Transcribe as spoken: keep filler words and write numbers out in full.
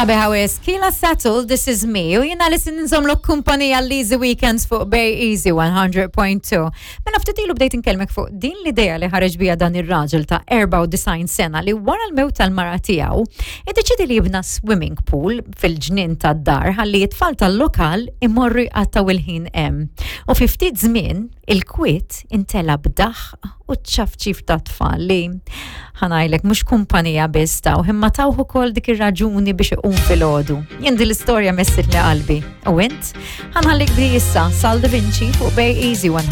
Sabiħa wisq, Keela Settle, This Is Me, u jiena li se nżommlok kumpanija l-Easy Weekends fuq Bay Easy one hundred point two. Mela ftit ilu bdejt inkellmek fuq din l-idea li ħareġ bija dan ir-raġel ta' erbgħa u disgħin sena li wara l-mewt tal-mara tiegħu iddeċiedi li jibna swimming pool fil-ġnien tad-dar ħalli t-tfal tal-lokal imorru jqattaw il-ħin hemm. U fi ftit żmien il-kwiet intela b'daħq u ċafċif ta' tfal li, ħa ngħidlek, mhux kumpanija biss taw, imma tawh ukoll dik ir-raġuni biex iqum filgħodu. Jien din l-istorja messitli qalbi. U int? Ħa nħallik bi issa Sal Da Vinci fuq Bay Easy one hundred.